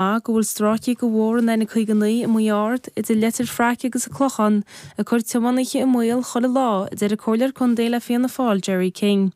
Go bhfuil stráicí de bhóthar an N59 i Maigh Ard, idir Leitir Fraic agus an Clochán, ag cur tiománaithe i mbaol chuile lá, a deir an Comhairleoir Contae le Fianna Fáil, Gerry King.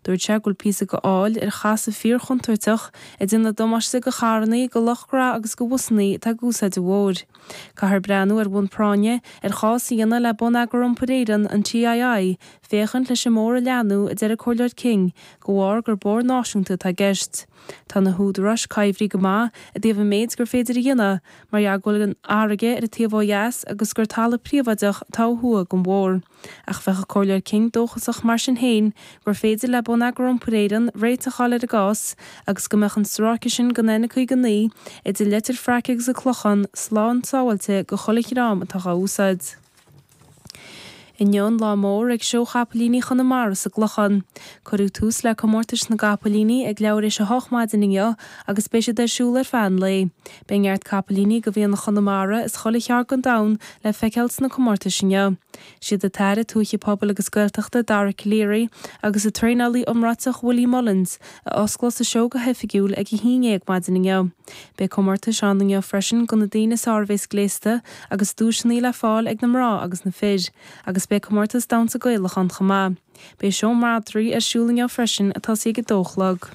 Dúirt sé go bhfuil píosa de fhaill ar chasadh fíor-chontúirteach ag déanamh damáiste do charrannaí, do lucht gnó agus do bhusannaí atá ag úsáid an bhóthair. Caithfear breathnú ar bhonn práinne ar chás a dhéanamh le Bonneagar Iompair Éireann, an TII, féachaint leis an mbóthar a leathnú, a deir an Comhairleoir King, de bharr gur bóthar náisiúnta atá i gceist. Tá na húdaráis coimhthí go maith i dtaobh an méid gur féidir a dhéanamh mar gheall go bhfuil an fharraige ar an taobh ó dheas agus gur talamh príobháideach atá ó thuaidh den bhóthar. Ach bheadh an Comhairleoir King dóchasach mar sin féin gur féidir le Bonneagar Iompair Éireann réiteach a fháil ar an gcás agus go mbeadh an stráice sin den N59 idir Leitir Fraic agus an Clochán slán sábháilte do chuile dhream atá dhá úsáid. Inniu an lá mór ag Seó Chapaillíní Chonamara sa gClochán. Cuireadh tús le comórtais na gcapaillíní ag leathuair éis a hocht maidin inniu agus beidh siad ar siúl ar feadh an lae. Beidh neart capaillíní de mhianach Chonamara as chuile cheard den domhan le feiceáil sna comórtais inniu. Siad an tAire Tuaithe Pobail agus Gaeltachta Dara Calleary agus an traenálaí iomráiteach Willie Mullins a osclós an seó go hoifigiúil ag a haon dhéag maidin inniu. Beidh comórtais ann inniu freisin do na daoine is fearr a bhéas gléasta agus duaiseanna le fáil ag na mná agus na fir, agus beidh comórtas damhsa Gaelach ann chomh maith. Beidh seó madraí ar siúl inniu freisin ag tosaí ag a dó a chlog.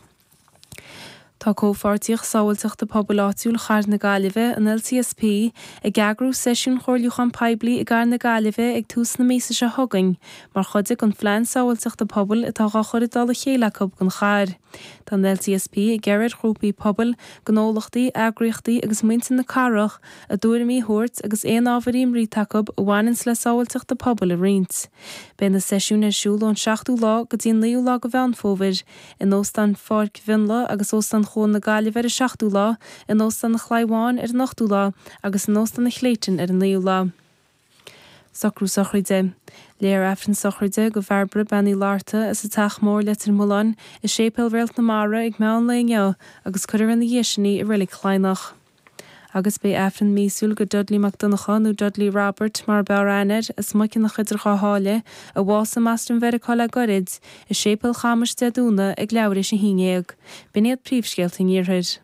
Tá Comhpháirtíocht Sábháilteachta Pobail Áitiúil Chathair na Gaillimhe, an LCSP, ag eagrú seisiún chomhairliúcháin poiblí i gCathair na Gaillimhe ag tús na míosa seo chugainn mar chuid den Phlean Sábháilteachta Pobail atá dhá chur i dtoll a chéile acu don chathair. Tá an LCSP ag iarraidh ar ghrúpaí pobail, gnólachtaí, eagraíochtaí agus muintir na cathrach a dtuairimí a thabhairt agus aon ábhair imní atá acu a bhaineanns le sábháilteacht pobail a roinnt. Beidh na seisiúin ar siúl ón seachtú lá go dtí an naoú lá de Mheán Fómhair, in Óstán Pháirc Mhionlaigh agus Óstán Chuan na Gaillimhe ar an seachtú lá, in Óstán an Chlaí Bháin ar an ochtú lá agus in Óstán an Chlayton ar an naoú lá. Socrú sochraide. Léifear Aifreann sochraide do Bhairbre Bean Uí Fhlatharta as an Teach Mór, Leitir Mealláin, i Séipéal Réalt na Mara ag meán lae inniu agus cuirfear ina dhiaidh sin í i Reilig Chladhnach. Agus beidh Aifreann míosúil do Dudley Mac Donncha, nó Dudley Robert mar ab fhearr aithne air, as Muiceanach idir Dhá Sháile, a bhásaigh i mBoston Mheiriceá le goirid, i Séipéal Chamais Dé Domhnaigh ag leathuair éis a haon dhéag. B'in iad príomhscéalta an Iarthair.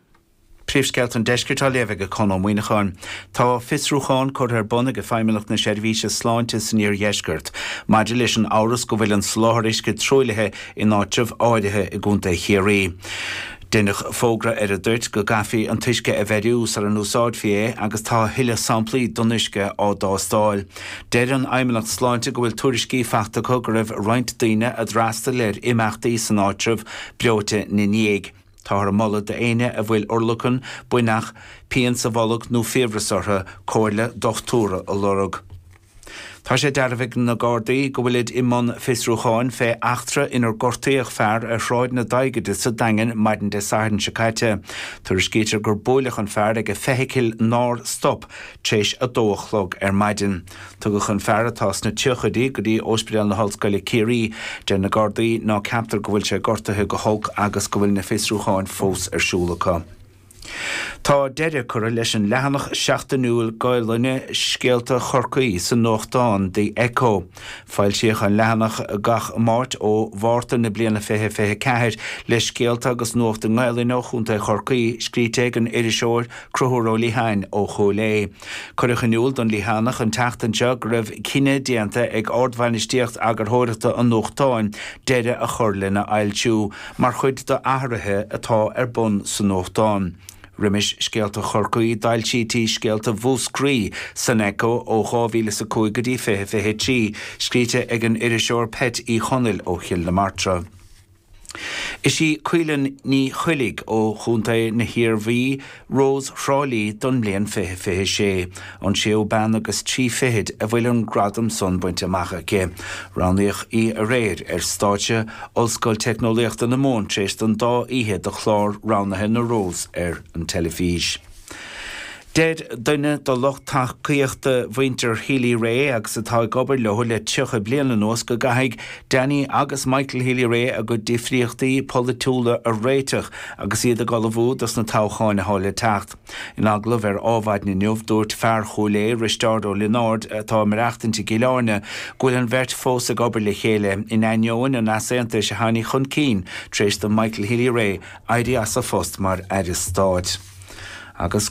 Príomhscéalta an Deiscirt á léamh ag Conn Ó Muíneacháin. Tá fiosrúchán curtha ar bun ag Feidhmeannacht na Seirbhíse Sláinte san Iardheisceart maidir leis an amhras go bhfuil an soláthar uisce truaillithe in áitribh áirithe i gContae Chiarraí. Deineadh fógra ar an dtoirt go gcaithfí an t-uisce a bheiriú sara n-úsáidfí é agus tá a thuilleadh samplaí don uisce á dtástáil. Deir an Fheidhmeannacht Sláinte go bhfuil tuairiscí faighte acu go raibh roinnt daoine a d'fhreastail ar imeachtaí san áitreabh breoite ina ndiaidh. Táthar ag moladh d'éinne a bhfuil urlacan, buinneach, pian sa bholg nó fiabhras orthu comhairle dochtúra a lorg. Tá sé dearbhaithe ag na Gardaí go bhfuilid i mbun fiosrúcháin fé eachtra inar gortaíodh fear ar Shráid na Daighide sa Daingean maidin Dé Sathairn seo caite. Tuairiscítear gur buaileadh an fear ag feithicil nár stop tar éis a dó a chlog ar maidin. Tugadh an fear, atá sna tríochaidí, go dtí Ospidéal na hOllscoile Ciarraí. Deir na Gardaí ná ceaptar go bhfuil sé gortaithe go holc agus go bhfuil na fiosrúcháin fós ar siúl acu. Tá deireadh curtha leis an leathanach seachtainiúil Gaelainne Scéalta Chorcaí sa nuachtán The Echo. Foilsíodh an leathanach gach Máirt ó Mhárta na bliana 2024 le scéalta agus nuacht i nGaelainn ó Chontae Chorcaí, scríte ag an iriseoir Conchúr Ó Liatháin ó Chúil Aodha. Cuireadh in iúl don Liathánach an tseachtain seo go raibh cinneadh déanta ag ardbhainistíocht eagarthóireachta an nuachtáin deireadh a chur lena fhoilsiú mar chuid d'athruithe atá ar bun sa nuachtán. Roimis Scéalta Chorcaí d'fhoilsítí Scéalta Mhúscraí san Echo ó 2005 go dtí 2023, scríte ag an iriseoir Peait Uí Chonaill ó Chill na Martra. Is í Caoileann Ní Choiligh ó Chontae na hIarmhí Rós Thrá Lí don mbliain 2026, an séú bean agus trí fichid a bhfuil an gradam san bainte amach aici. Roghnaíodh í aréir ar stáitse Ollscoil Teicneolaíochta na Mumhan tar éis don dá oíche de chlár roghnaithe na Rós ar an teilifís. Deir duine de lucht tacaíochta mhuintir Healy-Rae agus atá ag obair leo le 30 bliain anuas go gcaithfidh Danny agus Michael Healy-Rae a gcuid difríochtaí polaitiúla a réiteach agus iad ag ullmhú dos na toghcháin atá le teacht. In agallamh ar Ádhmhaidin inniu, dúirt fear Chúil Aodha, Risteárd Ó Lionáird, atá ag maireachtaint i gCill Airne, go bhfuil an bheirt fós ag obair le chéile, in ainneoin an easaontais a tháinig chun cinn tar éis do Michael Healy-Rae éirí as a phost mar Aire Stáit. agus.